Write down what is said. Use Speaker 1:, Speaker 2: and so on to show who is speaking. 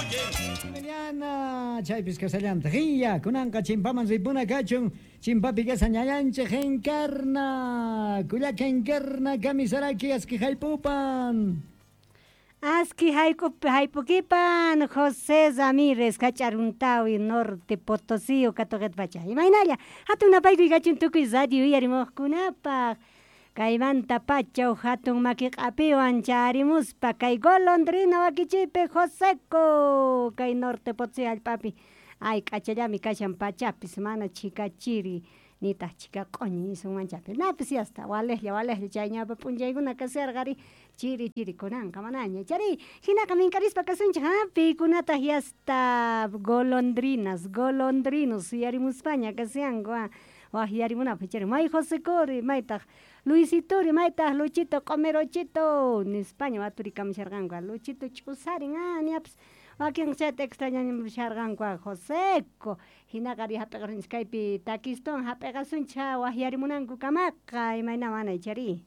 Speaker 1: Emiliana, chaypis kasallantaq hinya kunanqa chimpaman ripuna kachun chimpapi kasa ñayanchik encarna kullaka encarna kamisaraki aski haypupan.
Speaker 2: Aski haykupi haypukipan José Ramírez Kacharuntawi Norte Potosí Katuqet Imaynalla hatun napaykuy kachun tukuy radio uyarimuqkunapaq kaymanta pacha hatun makiq'apiwan charimuspa kay golondrina wakichiypi Joseco kay Norte Potosí allpapi. Ay k'achallami kashan pachapis mana chhikachiri nitaq chhika q'uñi nisunmanchapi napis yasta waliqlla waliqlla chay ñawpa p'unchaykuna kasharqari chiri chiri kunanqa manaña. Chari hinaqa mink'arispa kasunchik ha piykunataq yasta golondrinas golondrinos yarimuspaña kashanku ha waq yarimunapaq chari may Josecori maytaq Luisitori maytaq Luchito q'umiruchito nispaña waturikamusharqanku Luchito ch'usarin ha ñapis wakin chayta extrañamusharqanku Joseco. Hinaqa ri hap'iqasunchik kaypi takistawan hap'iqasunchik waqyarimunanku kamaqa imayna mana chari.